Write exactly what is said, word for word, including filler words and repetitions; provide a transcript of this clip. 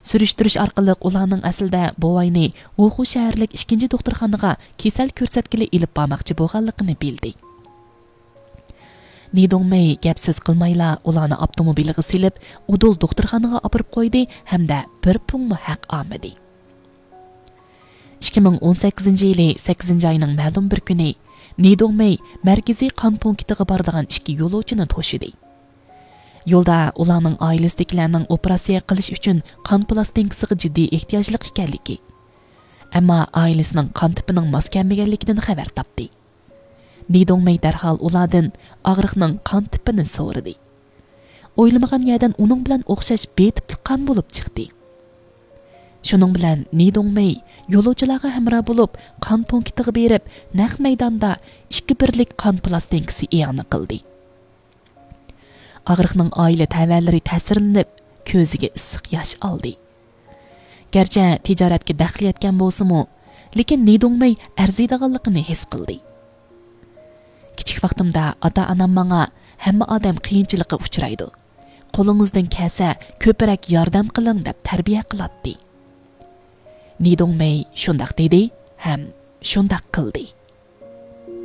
سۈرۈشتۈرۈش ئارقىلىق ئۇلارنىڭ ئەسلىدە بوۋاينى ۋۇخۇ شەھەرلىك ئىككىنچى دوختۇرخانىغا كېسەل كۆرسەتكىلى ئېلىپ بارماقچى بولغانلىقىنى بىلدى. نىدوڭمېي گەپ سۆز قىلمايلا ئۇلارنى ئاپتوموبىلغا سېلىپ، ئۇدۇل دوختۇرخانىغا ئاپىرىپ قويدى ھەمدە بىر پۇڭمۇ ھەق ئالمىدى. ئىككى مىڭ ئون سەككىزىنچى يىلى سەككىزىنچى ئاينىڭ مەلۇم بىر كۈنى نىدوڭمېي مەركىزىي قان پونكىتىغا بارىدىغان ئىككى يولۇچىنى توشىدى. يولدا ئۇلارنىڭ ئائىلىسىدىكىلەرنىڭ ئوپېراتسىيە قىلىش ئۈچۈن قان پىلاستىنكىسىغا جىددىي ئېھتىياجلىق ئىكەنلىكى، ئەمما ئائىلىسىنىڭ قان تىپىنىڭ ماس كەلمىگەنلىكىدىن خەۋەر تاپتى. نىدوڭمېي دەرھال ئۇلاردىن ئاغرىقنىڭ قان تىپىنى سورىدى. ئويلىمىغان يەردىن ئۇنىڭ بىلەن ئوخشاش بې تىپلىق قان بولۇپ چىقتى. شۇنىڭ بىلەن نىدوڭمېي يولۇچىلارغا ھەمراھ بولۇپ، قان پونكىتىغا بېرىپ، نەق مەيداندا ئىككى بىرلىك قان پىلاستىنكىسى ئىئانە قىلدى. ئاغرىقنىڭ ئائىلە تەۋەلىرى تەسىرلىنىپ، كۆزىگە ئىسسىق ياش ئالدى. گەرچە تىجارەتكە دەخلى يەتكەن بولسىمۇ، لېكىن نىدوڭمېي ئەرزىيدىغانلىقىنى ھېس قىلدى. كىچىك ۋاقتىمدا ئاتا-ئانام ماڭا، «ھەممە ئادەم قىيىنچىلىققا ئۇچرايدۇ. قولىڭىزدىن كەلسە، كۆپرەك ياردەم قىلىڭ» دەپ تەربىيە قىلاتتى. نىدوڭمېي شۇنداق دېدى ھەم شۇنداق قىلدى.